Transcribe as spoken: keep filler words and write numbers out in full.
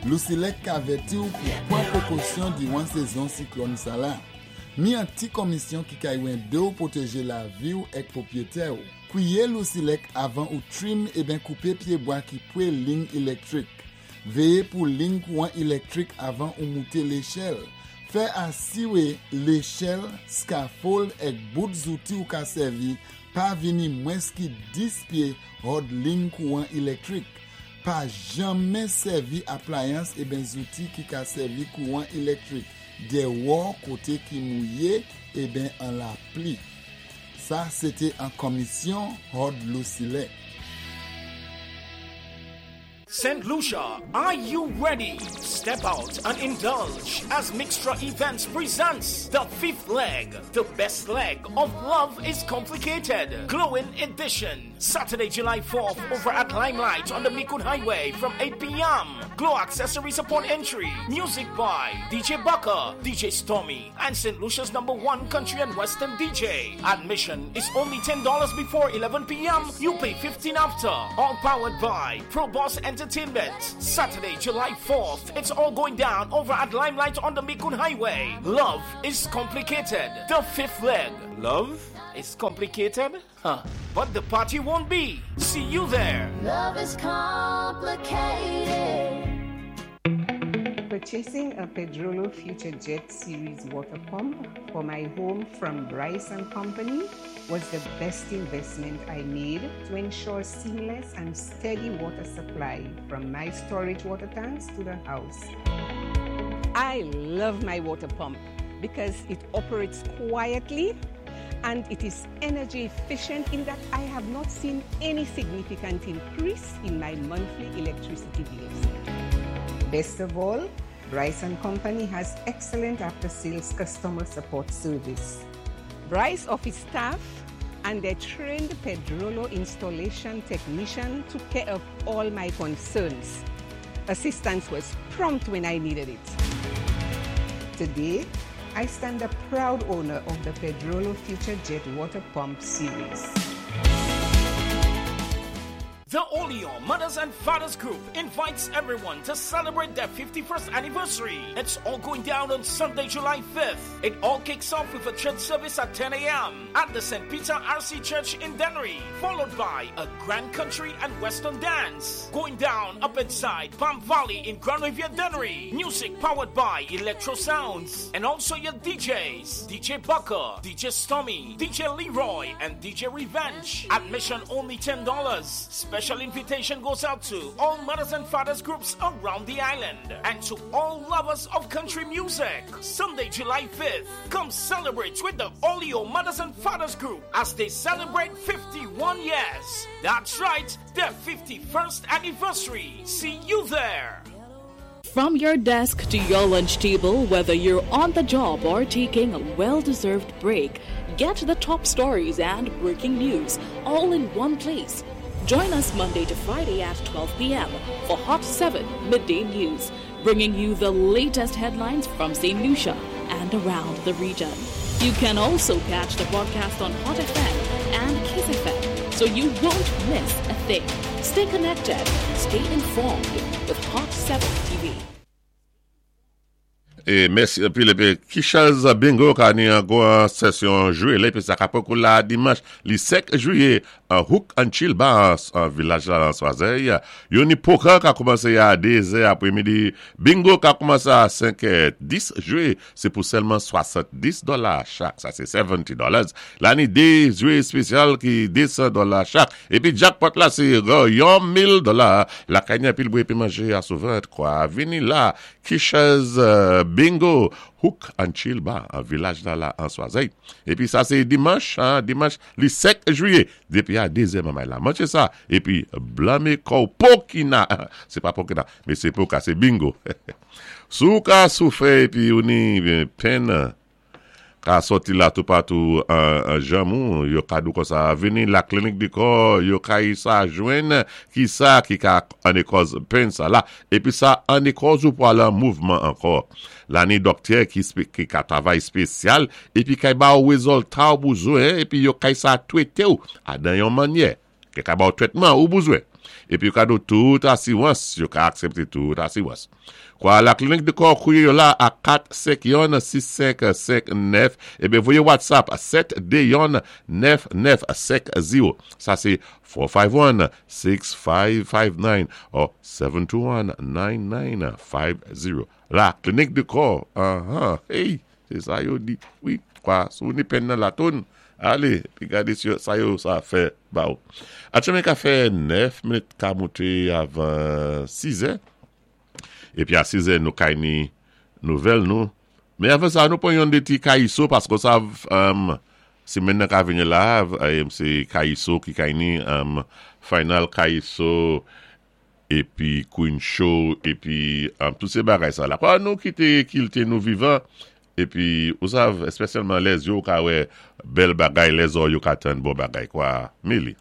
Lusilek ka avèti ou pou pwan pwékosyon diwan sézon siklòn sa la. Ni an ti komisyon ki ka édé ou pwotéjé lavi ou èk pwopwiyété ou. Kwiyé Lusilek avan ou trim eben koupé pyébwa ki pwé lign ilektwik. Véyé pou lign kouwan ilektwik avan ou mouté léchèl. Fè asiwé léchèl, scaffold èk bout zouti ou ka sèvi pa vini mwens ki dis pyé hòd lign kouwan ilektwik. Pa janmen sèvi aplayans eben zouti ki ka sèvi kouwan ilektwik déwò koté ki mouyé eben an lapli. Sa, sété an komisyon hòd Lusilek. Saint Lucia, are you ready? Step out and indulge as Mixtra Events presents the fifth leg, the best leg of Love is Complicated, Glowing Edition. Saturday, July fourth, over at Limelight on the Micoud Highway from eight p m. Glow accessories upon entry. Music by D J Bucker, D J Stormy, and Saint Lucia's number one country and western D J. Admission is only ten dollars before eleven p m. You pay fifteen after. All powered by Pro Boss Entertainment. Saturday, July fourth. It's all going down over at Limelight on the Micoud Highway. Love is Complicated. The fifth leg. Love is complicated? Huh. But the party won't be. See you there. Love is complicated. Purchasing a Pedrollo Future Jet Series water pump for my home from Bryce and Company was the best investment I made to ensure seamless and steady water supply from my storage water tanks to the house. I love my water pump because it operates quietly and it is energy efficient in that I have not seen any significant increase in my monthly electricity bills. Best of all, Bryce and Company has excellent after-sales customer support service. Bryce office staff and their trained Pedrollo installation technician took care of all my concerns. Assistance was prompt when I needed it. Today, I stand a proud owner of the Pedrollo Future Jet Water Pump Series. The Olio Mothers and Fathers Group invites everyone to celebrate their fifty-first anniversary. It's all going down on Sunday, July fifth. It all kicks off with a church service at ten a m at the Saint Peter R C Church in Dennery, followed by a Grand Country and Western dance. Going down up inside Palm Valley in Grand Riviere, Dennery. Music powered by Electro Sounds and also your D Js, D J Bucker, D J Stormy, D J Leroy, and D J Revenge. Admission only ten dollars. Special invitation goes out to all mothers and fathers groups around the island and to all lovers of country music. Sunday, July fifth, come celebrate with the Olio Mothers and Fathers Group as they celebrate fifty-one years. That's right, their fifty-first anniversary. See you there. From your desk to your lunch table, whether you're on the job or taking a well deserved break, get the top stories and breaking news all in one place. Join us Monday to Friday at twelve p m for Hot seven Midday News, bringing you the latest headlines from Saint Lucia and around the region. You can also catch the broadcast on Hot F M and Kiss F M, so you won't miss a thing. Stay connected, stay informed with Hot seven T V. É mèsi épi épi Kisha's Bingo ka ni an gwan sesyon jwé épi sa ka poko la dimanch li senk jwiyé an Hook and Chill Bar an vilaj la an Swazey. Yo ni poker ka koumansé a dé zè apwémidi. Bingo ka koumansé a senk dis jwé, sé pou sèlman swasanndis dola chak. Sa sé seventy dollars. La ni dé jwé éspésyal ki désan dola chak. Épi jackpot la sé yon mil dola. La ka ni pil bwè épi manjé a sou vant kwa. Vini la Kisha's euh, Bingo Hook and Chill Bar an vilaj la la an Swazey. Épi sa sé dimanch, hein, dimanch li senk jwiyé dépi a dézè manmay la. Manjé sa épi blanmé kò'w pokina. Sé pa pokina, men sé poka, sé bingo. Sou ka soufè épi ou ni penn ka sòti la toupatou an, an janm ou, yo ka dou konsa vini la Clinique du Corps, yo ka yi sa jwenn ki sa ki ka an kòz penn sa la, épi sa an kòz ou pou al an mouvman ankò. La ni dòktè ki, spé, ki ka travay éspésyal, épi kay ba ou wézilta ou bouzwen, épi yo kay sa twété ou, adan yon mannyè, ki ka ba ou twétman ou bouzwen. Épi yo ka do tout asiwans, yo ka aksépté tout asiwans. Kwa La Clinique du Cœur kouwé yo la a kat senk youn sis senk senk nèf, ébyen voyé WhatsApp sèt dé youn nèf nèf senk zewo. Sa sé four five one six five five nine or seven two one nine nine five zero. La Clinique du Cœur, uh-huh. Hey, sé sa yo di. Wi, kwa, si ou ni pèn nan latoun, alé, pi gadé sa yo sa fè ba ou. Atchanmen ka fè nèf minit ka mouté avan sis è. Épi a sis è nou kay ni nouvèl nou. Men avan sa nou pwan yon dé ti Kayiso paski sa um, simenn nan ka vini la, um, sé Kayiso ki kay ni um, final Kayiso épi Queen Show épi um, tout sé bagay sa la. Kwa nou kité kilti nou vivan épi ou sav espesyalman lè zye yo ka wè bèl bagay, lè zòrèy yo ka tann bon bagay kwa. Mili.